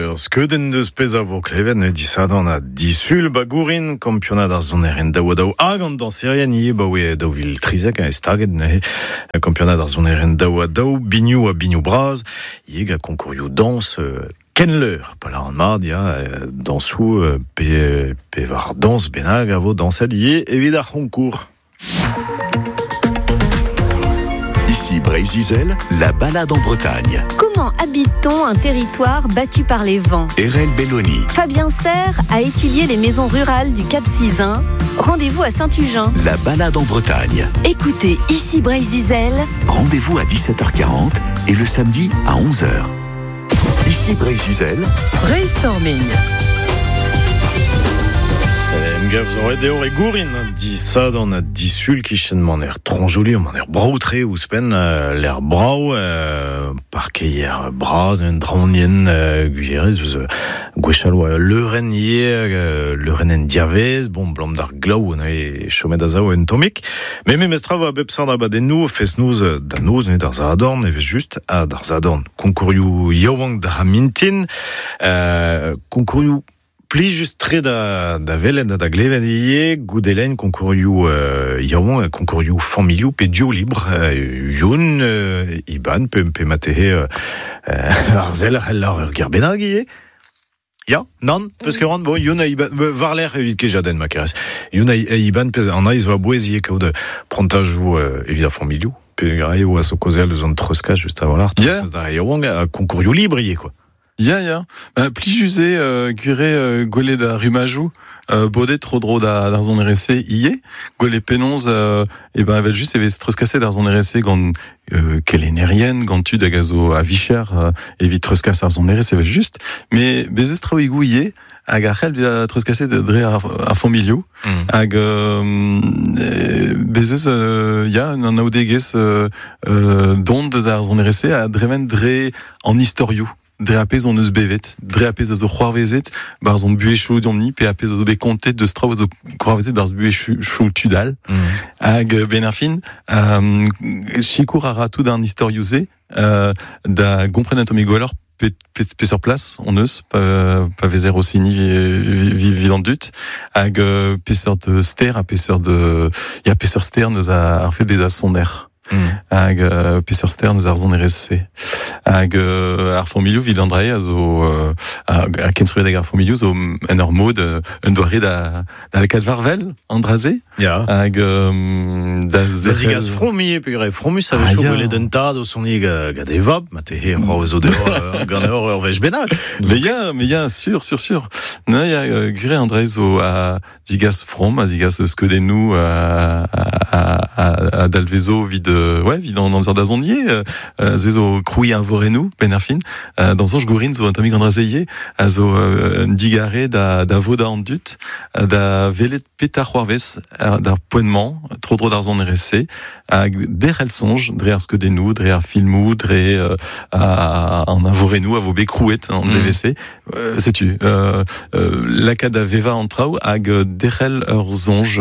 ur skeudenn deus pezh a vo klevet neuze disadorn ha disul ba Gourin, kampionad ar sonerien daou-ha-daou hag an dañserien ivez 'baoe 2013 e staget neuze kampionad ar sonerien daou-ha-daou, binioù ha binioù bras ivez gant konkourioù dañs Kenleur, pa lâran mat, ya, dañsoù pe, pe war dañs bennak a vo dañset ivez evit ar c'honkour. Ici Breizh-Izel, la balade en Bretagne. Comment habite-t-on un territoire battu par les vents? Erel Belloni. Fabien Serre a étudié les maisons rurales du Cap Sizun. Rendez-vous à Saint-Tugen. La balade en Bretagne. Écoutez Ici Breizh-Izel. Rendez-vous à 17h40 et le samedi à 11h. Ici Breizh-Izel. Brainstorming. Emgav zo ret eo e Gourin, disadorn ha disul kichen maner Tronjoli, maner brav-tre ouzhpenn, lec'h brav, parkeier bras, un draonienn gwirez, eus gwechall oa leurenn ivez, leurenn en diavez, bon, 'blam d'ar glav neuze chomet a-sav un tammig. Met memestra 'vo a bep seurt abadennoù, fest-noz da noz neuze d'ar Sadorn, evel-just, ha d'ar Sadorn konkourioù yaouank d'ar mintin, konkourioù plijus-tre da, da welet ha da glevet ivez, goude lenn konkourioù yaouank ha konkourioù familhoù pe duo libr, Youn, Iban, pe, pe matehe ar sell a c'hell ur ger bennak ivez. Ya, nann, peus ket c'hoant, bon, Youn ha Iban, war-lerc'h evit kejadenn ma kerez. Youn ha Iban, pezh an aiz va bouez ivez kaout prantajoù evit ar familhoù. Peogwir eo a zo kaozeal eus an treuzkas just a-walc'h, treuzkas d'ar re yaouank ha konkourioù libr ivez, quoi. Ya, ya. Bah, plijus eo gwir eo gwelet ar rummajoù bodet tro-dro da, d'ar sonerezh-se ivez. Gwelet penaos e ben evel-just e vez treuzkaset ar sonerezh-se gant kelennerien, gant tud hag a zo a-vicher evit treuzkas ar sonerezh evel-just. Mais bez eus traoùigoù ivez hag a c'hell bezañ treuzkaset dre ar, ar familhoù. Hag bez eus ya un anaoudegezh don deus ar sonerezh-se a dremen dre an istorioù. Dre ar pezh hon eus bevet, dre ar pezh a zo c'hoarvezet barzh hon buhezioù deomp-ni, pe ar pezh a zo bet kontet deus traoù a zo c'hoarvezet barzh buhezioù tud all. Hag benn ar fin, sikour a ra tout an istorioù-se da gompren un tammig gwelloc'h peseurt plas hon eus pa vezer o siniñ evit an dud hag peseurt ster ha peseurt ya peseurt ster neus ar fait bezañ soner. Hag peseurt ster eus ar sonerezh-se. Hag ar familhoù evit an dra-se a zo ha kenstrivadeg ar familhoù zo en ur mod un doare da da lakaat war-wel an dra-se. Ya. Hag da Da zigas from ivez, peogwir fromus a-wechoù gwelet un tad o soniñ gant e vab, ma tehe c'hoarvezo deoc'h ganeoc'h ur wech bennak. Mais ya, mais ya, sûr, sûr, sûr. Non, ya, gwir eo an dra-se zo a Digas from a zigas skeudennoù a dalvezo evit ouais, evit an amzer da zont ivez. Se zo krouiñ eñvorennoù benn ar fin. D'am soñj Gourin zo un tammig an dra-se ivez, a zo un digarez da, da vodañ an dud, da welet petra c'hoarvez d'ar poent-mañ, tro-dro d'ar sonerezh-se, hag derc'hel soñj dre ar skeudennoù, dre ar filmoù, dre an eñvorennoù a vo bet krouet an devezh-se. Setu, lakaat da vevañ an traoù hag derc'hel ur soñj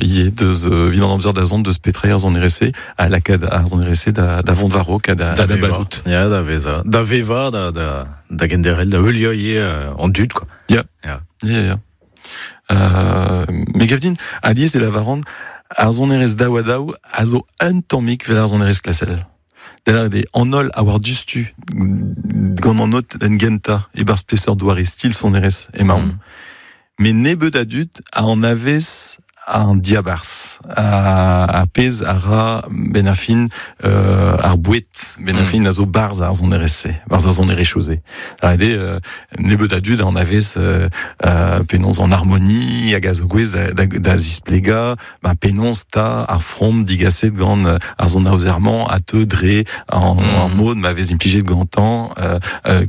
ivez deus evit an amzer da zont deus petra eo ar sonerezh-se ha lakaat ar sonerezh-se da, da vont war-raok ha da, da badout. Ya, da vezañ, da vevañ, da, da, da genderc'hel, da heuliañ ivez an dud, quoi. Ya, Ya. ya, ya. Me gav din, alies e lavaran, ar sonerezh daou-ha-daou a zo un tammig 'vel ar sonerezh klasel. Da lâret eo, an holl a oar diouzhtu gant an notenn gentañ e-barzh peseurt doare stil sonerezh emaomp. Met nebeut a dud a anavez an diabarzh, ar pezh a ra benn ar fin ar boued, benn ar fin a zo barzh ar sonerezh-se, barzh ar sonerezhioù-se. Da lâret eo, nebeut a dud a anavez penaos an harmoni hag a zo gouest da, da zisplegañ Ba penaos 'ta ar from digaset gant ar sonaozer-mañ a teu dre an, ar mod ma vez implijet gantañ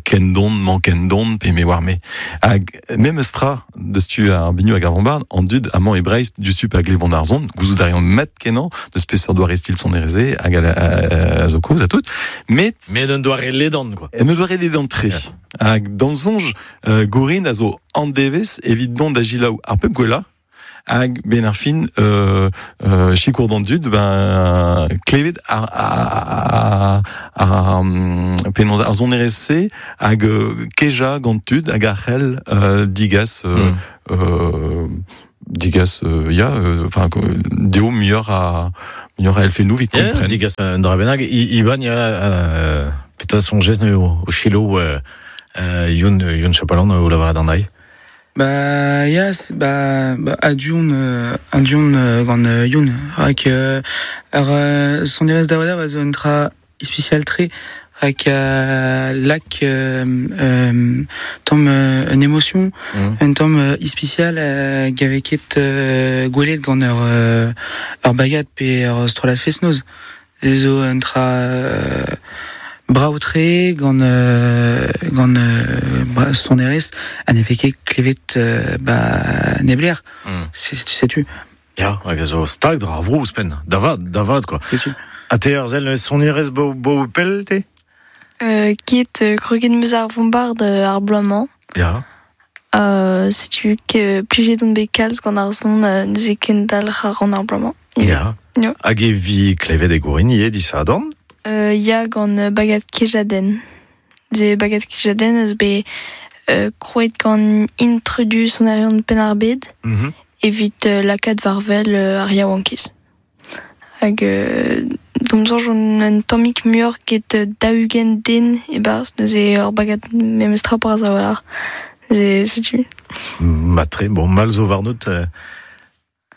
ken don mañ ken don pe me oar-me. Hag memes tra deus tu ar binioù hag ar vombard, an dud amañ e Breizh diouzhtu pa glevont ar son, gouzout a reont mat kenañ deus peseurt doare stil sonerezh hag a zo kozh ha tout. Met Met un doare ledan quoi. Un doare ledan-tre. Hag d'am soñj, Gourin a zo an devezh evit dont da selaou ar pep gwellañ. Hag ben ar fin sikour d'an dud, ben klevet ar penaos ar sonerezh-se hag keja gant tud hag ar c'hell digas digas ya enfin deo muioc'h a elfennoù evit kompren. Digas un dra bennak Iban ya petra soñjez ne o chilo Youn Chapalan o lavaret an ai. Ba ya ba aduon gant Youn rak ar sonerezh da a zo un dra ispisial tre rak lak tamm un émotion un tamm ispisial gave ket gwelet gant ur bagad pe ur strollad fest-noz zo un dra brao-tre gant sonerezh ha ne vez ket klevet ba nebler. Setu. Ya, hag a zo stag dra ar vro ouzhpenn. Da vat quoi. Setu. Ha te ar sell sonerezh bo pell te? Ket kroget meus ar vombard ar bloaz-mañ. Ya. Setu ke plijet on bet kalz gant ar son neuze kendalc'h ar ran ar bloaz-mañ. Ya. Ya. Hag e vi klevet e gourin ivez disadorn? Ya gant bagad Kejadenn. Ze bagad Kejadenn a zo bet krouet gant intrudu sonerion Penn-ar-Bed evit lakaat war-wel ar yaouankiz. Hag d'am soñj on un tammig muioc'h get 40 den e-barzh neuze ur bagad memestra bras a-walc'h. Neuze setu. Matre, bon, mal zo warnout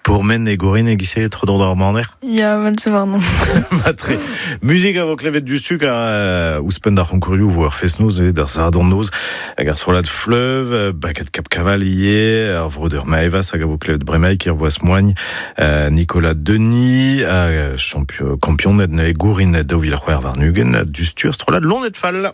pourmen e gourin e gise tro d'ar maner. Ya, mal zo warnon. Matre. Muzik a vo klevet du stuk a ouzhpenn d'ar c'honkourioù vo ar fest-noz d'ar sadorn-noz hag ar strollad Fleuve, bagad Cap Cavalier, ar vreudeur Maevas hag a vo klevet bremaik er voas moagn, Nicolas Denis, champion kampion ne gourin 2024 du stur strollad Lonet Fall.